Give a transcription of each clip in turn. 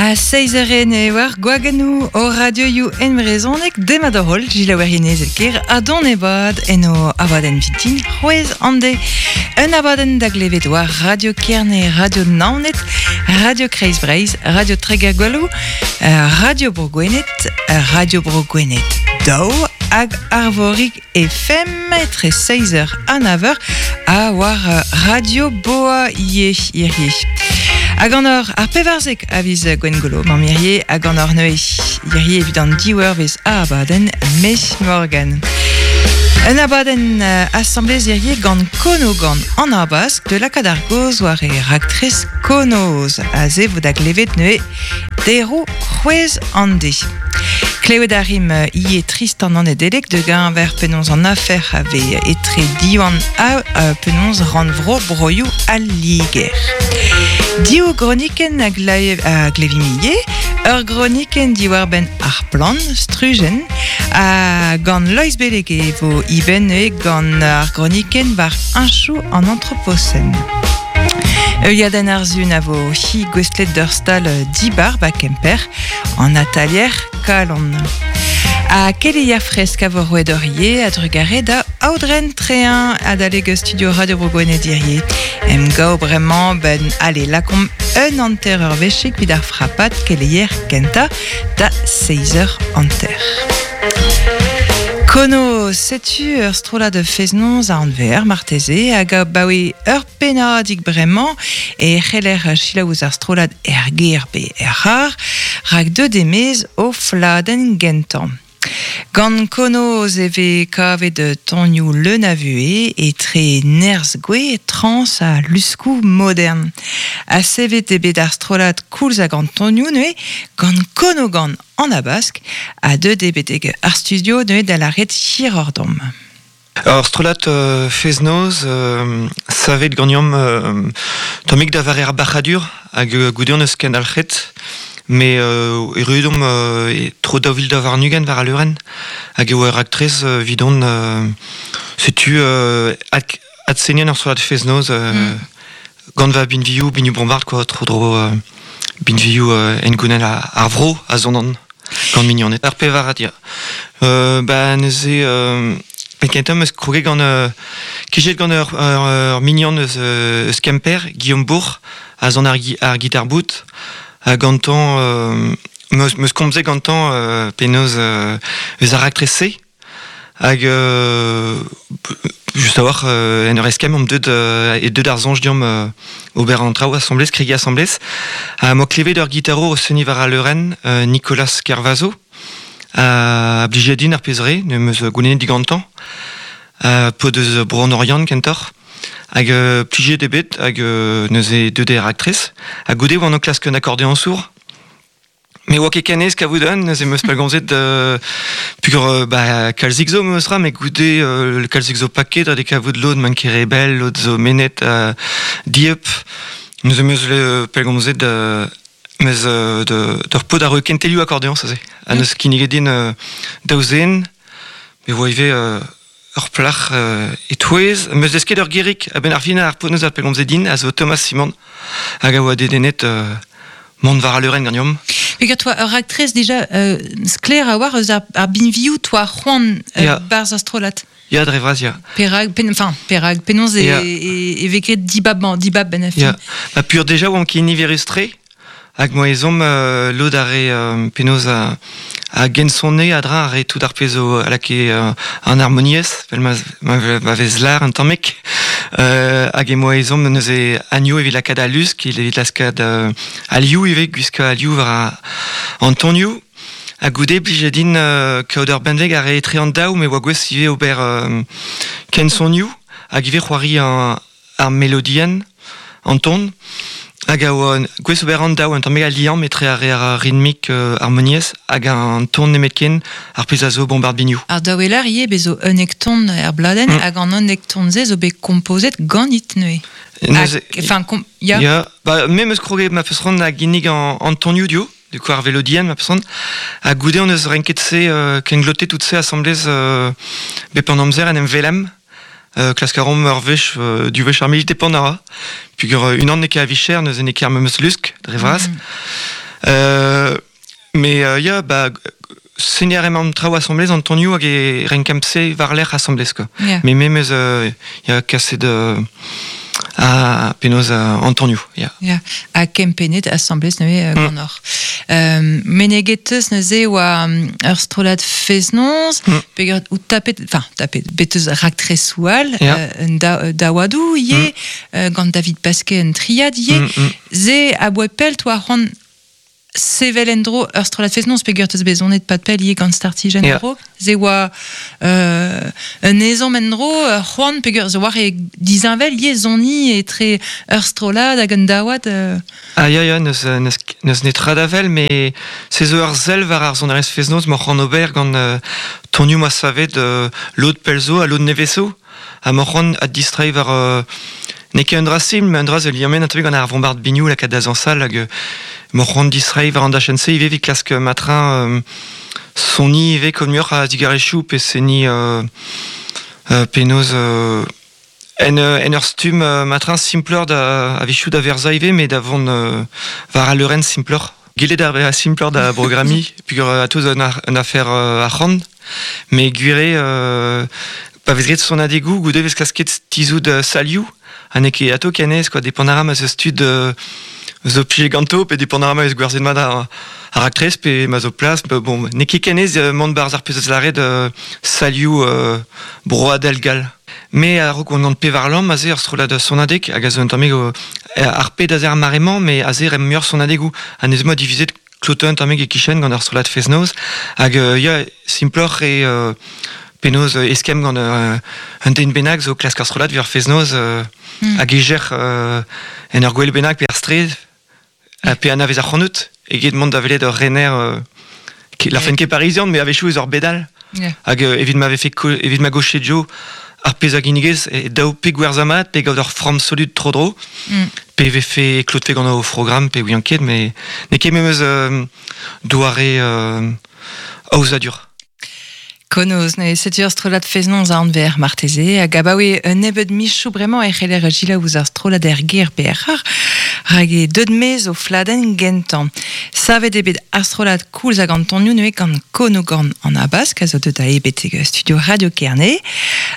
A seizh eur ene war gwagennoù o radioioù en brezhoneg demat hor holl gilaouerien ker ha don ebad en o abadenn vintin c'hwezh an de. Un abadenn da glevet war Radio Kerne, Radio Naoned, Radio Kreiz Breizh, Radio Treger-Gwelloù, Radio Bro Gwened, Radio Bro Gwened daou hag Arvorig FM etre 6 eur ha 9 eur ha war Radio Boa ivez hirie. Hag an ur ar pevarzek a viz Gwengolo, mamm hirie, hag an ur neuze hirie evit an div eurvezh a abadenn Mes Morgan. Un abadenn asamblez hirie gant Kono gant an Abask de lakaat ar gaoz war e raktres Konoz. Aze vo da glevet neuze Deroù c'hwezh an de. Klevet a rimp ivez Tristan an Nedeleg de geñver penaos an afer a vez etre Diwan ha penaos rannvro broioù al Liger. Div gronikenn a glevimp ivez, ur gronikenn diwar-benn ar plant, strujenn, ha gant Loeiz Beleg e vo ivez neuze gant ar gronikenn war heñchoù an antroposen. Heuliadenn ar Sun a vo hi gouestlet d'ur stal dibar ba Kemper, an atalier Kalon. Ha keleier fresk a vo roet hor ivez a-drugarez da Aodren Trein adalek studio Radio Bro Gwened hirie. Emgav bremañ ben allez lakaomp un hanter ur wechig evit ar frapad keleier kentañ da seizh eur hanter. Kono, setu ur strollad fest-noz a anver marteze hag abaoe ur pennadig bremañ e c'heller selaou ouzh ar strollad er gêr pe er c'harr rak deuet e-maez o fladenn gentañ. Gant Konoz e vez kavet tonioù leun a vuhez etre nerzh gouez, trañs ha luskoù modern. Ha sevet eo bet ar strollad koulz hag an tonioù neuze gant Konogan an Habask ha deuet eo betek ar studio neuze da lâret hiroc'h deomp. Ur strollad fest-noz savet ganeomp tammig da vare ar bac'hadur hag goude hon eus kendalc'het met erruet omp tro 2022 war al leurenn hag e oa ur raktres evidon setu adseniñ ur strollad fest-noz gant va binvioù binioù bombard quoi tro-dro binvioù hengounel ar vro a sonan gant mignoned. Ar pevarad ya. Ba neuze penn-kentañ 'm eus kroget gant kejet gant ur, ur mignon eus, eus Kemper, Guillaume Bourg, a son ar, ar gitar-bout. Ha gantañ 'm eus komzet gantañ penaos eus ar raktres-se. Hag just a-walc'h en ur eskemm omp deuet e deuet ar soñj deomp ober an traoù asambles, kregiñ asambles. Ha 'moa klevet ur gitarour o seniñ war al leurenn, Nicolas Kervazo, a blije din ar pezh re, n'em eus goulennet digantañ. Paotr eus Bro an Oriant kentoc'h. Hag plijet eo bet hag neuze deuet eo raktres. Ha goude oan o klask un akordeoñsour. Me oa ket ken aes kavout un, neuze 'm eus pellgomzet peogwir ba kalzik zo memes tra, met goude kalzik zo paket ha de kavout lod m'an ket re bell, lod zo mennet dieub. Neuze 'm eus pellgomzet meus d'ur paotr a ro kentelioù akordeoñs aze. Ha neus kinniget din daou zen, me oa ivez ur plac'h e-touez. 'm eus desket ur gerig a-benn ar fin ar paotr neus a pellgomzet din a zo Thomas Simon hag a oa dedennet mont war al leurenn ganeomp. Peogwir toa ur raktres dija sklaer a-walc'h eus ar binvioù toa c'hoant barzh ar strollad. Ya, dre vras, ya. Perak, pen, enfin, perak, penaos e, e, e vez graet dibab-mañ, dibab ben Ya. Ba pur deja oamp ket niverus-tre, hag moa ezhomm lod ar re penaos a gensonne a-dra ar re tout ar pezh zo a lakae an harmoniezh, vel ma, ma vez lar un tammig. Hag e moa ezhomm neuze anioù evit lakaat al lusk, evit lakaat al liv ivez, gwiskañ al liv war an tonioù. Ha goude blije din kaout ur benveg a rae etre an daou, me oa gouest ivez ober kensonioù hag ivez c'hoari ar melodienn, an ton. Hag a oa gouest ober an daou, un tammig al liamm etre ar re ar ritmik harmoniezh hag an ton nemetken, ar pezh a zo bombard binioù. Ar daoueler ivez bez zo unnek ton er bladenn hag an unnek ton-se zo bet kompozet ganit neuze. Neuze, enfin, ya. Ya, ba, me 'm eus kroget ma feus c'hoant da ginnig an tonioù dio, du coup ar velodienn ma peus c'hoant. Ha goude on eus renket se, kenglotet tout se asambles bep an amzer en em velem. Klask a raomp ur wech, div wech ar miz, depend a ra. Peogwir unan n'eo ket a-vicher, neuze n'eo ket ar memes lusk, dre vras. Me ya, ba, seniñ a raemp an traoù asambles an tonioù hag e renkemp se war-lerc'h asambles quoi. Yeah. Me memes ya kaset a penaos an tonioù, ya. Ya, ha kempennet asambles neuze ganeoc'h. Meneget teus neuze oa ur strollad fest-noz, peogwir out tapet, enfin tapet, bet eus raktresoù all, Ya. Un daouadoù ivez, gant David Pasquet un triad ivez. Se aboae pell toa c'hoant sevel en-dro ur strollad fest-noz peogwir teus bet sonet pad pell ivez gant Startijenn en-dro. Se oa un ezhomm en-dro, ur c'hoant peogwir zo war e disheñvel ivez soniñ etre ur strollad hag un daouad. Ah ya, ya, n'eus netra da wel, met se zo ur sell war ar sonerezh fest-noz m'oc'h c'hoant ober gant tonioù ma savet lod pell zo ha lod nevez zo. Ha m'oc'h c'hoant addistreiñ war... n'eo ket un dra simpl, mais un dra zo liammet un tammig gant ar vombard biniou lakaat da zañsal hag m'oc'h c'hoant distreiñ war an dachenn-se ivez evit klask matrin soniñ ivez kaout muioc'h a digarezioù pe seniñ penaos en ur stumm matrin simploc'h da a-wechoù da verzañ ivez, mais da vont war al leurenn simploc'h. Gellet ar bezañ simploc'h da brogrammiñ peogwir atao zo un afer arc'hant, met gwir eo pa vez graet sonadegoù goude vez klasket tizhout salioù ha n'eo ket atao ken aes quoi, depend a ra ma 'z eus tud zo plijet ganto pe depend a ra ma vez gwerzhet mat ar raktres pe ma zo plas. Bon, n'eo ket ken aes mont 'barzh ar pezh a lâret salioù broadel gall. Me a-raok on gant pevar lamm aze ur strollad sonadeg hag a zo un tammig ar ped aze ar mare-mañ, mais aze remp muioc'h sonadegoù. Ha neuze 'moa divizet klotañ un tammig e-kichen gant ar strollad fest-noz. Hag ya, simploc'h eo penaos eskemm gant un den bennak zo klask ar strollad evit ar fest-noz hag e-ger en ur gwel bennak pe ar straed pe anavez ac'hanout eget mont da welet ur rener la ket parizian, mais a-wechoù eus ur bed all. Hag evit ma vefe evit ma goche Joe ar pezh a ginnigez e daou pe gwerzhañ mat pe gaout ur framm solut tro-dro pe vefe klotfe gant o programm pe ouian ket, mais n'eo ket memes doare aozadur. Konoz, neuze setu ur strollad fest-noz a anver marteze, hag abaoe un nebeud michoù bremañ e c'heller selaou ouzh ar strollad er gêr pe er c'har, rak eo deuet maez o fladenn gentañ. Savet eo bet ar strollad koulz hag an tonioù neuze gant Konogan an Habask, a zo deuet da betek studio Radio Kerne,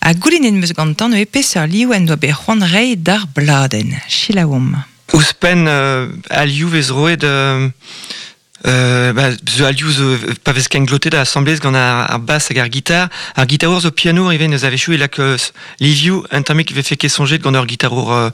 ha goulennet 'm eus gantañ neuze peseurt liv en doa bet c'hoant reiñ d'ar bladenn. Selaouomp. Ouzhpenn al liv vez roet... ba, zo alioù zo pa vez kenglotet asambles gant ar bass hag ar gitar. Ar gitarour zo pianour ivez neus a-wechoù e lak livioù un tammig vefe ket soñjet gant ur gitarour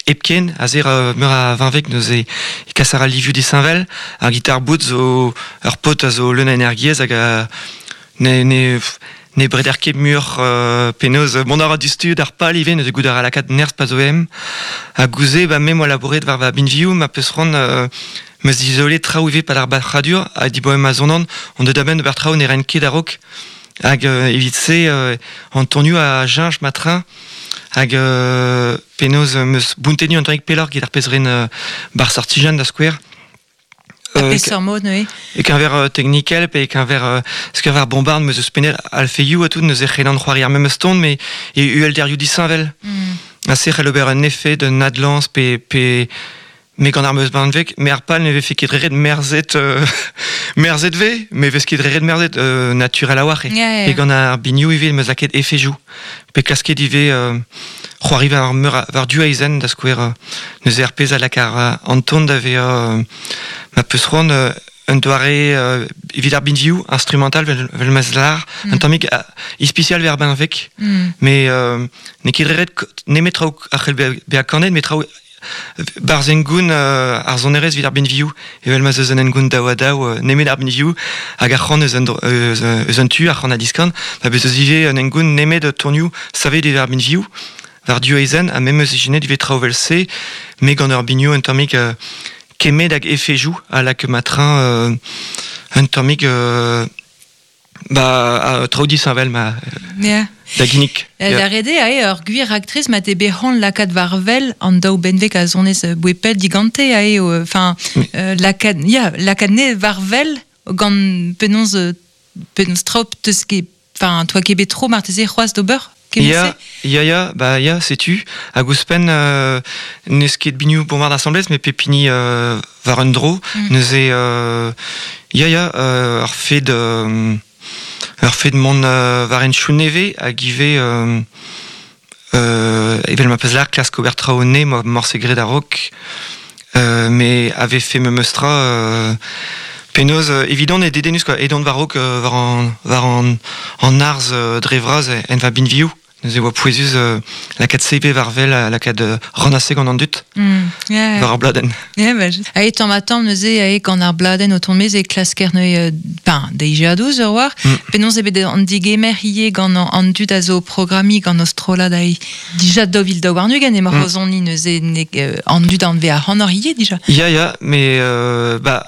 hepken aze meur a vinveg neuze e kas a ra livioù disheñvel. Ar gitar bout zo ur paotr a zo leun a energiezh hag a ne breder ket muioc'h penaos mont a ra diouzhtu d'ar pal ivez neuze goût a ra lakaat nerzh pa zo em. Ha gouze ba me 'moa labouret war va binvioù ma peus c'hoant meus dizolet traoù ivez pad ar bac'hadur ha diboan ma sonan on deut a-benn d'ober traoù ne raen ket a-raok. Hag evit se an tonioù a cheñch ma train hag penaos meus bountennu un tammig pelloc'h get ar pezh ren bar sortijenn da skouer. Ha peseurt mod neuze? E-keñver teknikel pe e-keñver e-keñver ar bombard meus ouzhpennet alfeioù ha tout neuze c'hellan c'hoari ar memes ton mais e uhelderioù disheñvel. Ha se c'hell ober un efed, un adlañs pe me gant ar meus benveg, mais ar pal ne vefe ket ret merzet merzet ve, mais vez ket ret merzet naturel a-walc'h eo. Yeah, Pe gant ar binioù ivez meus lakaet efejoù. Pe klasket ivez c'hoari war meur war du aezhenn da skouer neuze ar pezh a lak ar an ton da vezañ ma peus c'hoant un doare evit ar binvioù instrumental vel ma lar un tammig ispisial ver benveg mais n'eo ket ret nemet traoù a c'hell bezañ kanet met traoù barzh hengoun ar sonerezh evit ar binvioù evel ma 'z eus un hengoun daou-ha-daou nemet ar binvioù hag ar c'han eus un tu ar c'han a diskan ma bez eus ivez un hengoun nemet tonioù savet evit ar binvioù war du aezhenn ha memes ijinet ivez traoù evel-se me gant ur binioù un tammig kemmet hag efejoù a lak ma train un tammig ba traoù disheñvel ma da ginnig. Da ret eo ae ur gwir raktres ma te bet c'hoant lakaat war-wel an daou benveg a zonez bouepel digante ae enfin lakaat ya lakaat ne war-wel gant penaos penaos traoù teus ket enfin toa ket bet tro marteze c'hoazh d'ober. Kement-se? Ya, ba ya, setu. Hag ouzhpenn n'eus ket binioù bombard asambles, met pep hini war un dro. Neuze, ya, ur fed mont war henchoù nevez hag ivez evel ma peus lâret klask ober traoù ne morse graet a-raok, me a vefe memes tra penaos evidon eo dedennus quoi, edon war-raok war an arz dre vras en va binvioù. Neuze oa pouezus lakaat CV war wel, lakaat rann-se gant an dud war ar bladenn. Yeah, ba, ae tamm ha tamm neuze ae gant ar bladenn o tont maez e klasker neuze ben, deiziadoù ur war. Penaos eo bet an digemer ivez gant an dud a zo programmiñ gant o strollad ae dija 2022 emañ o soniñ neuze an dud anve ac'hanoc'h ivez dija. Ya, mais bah,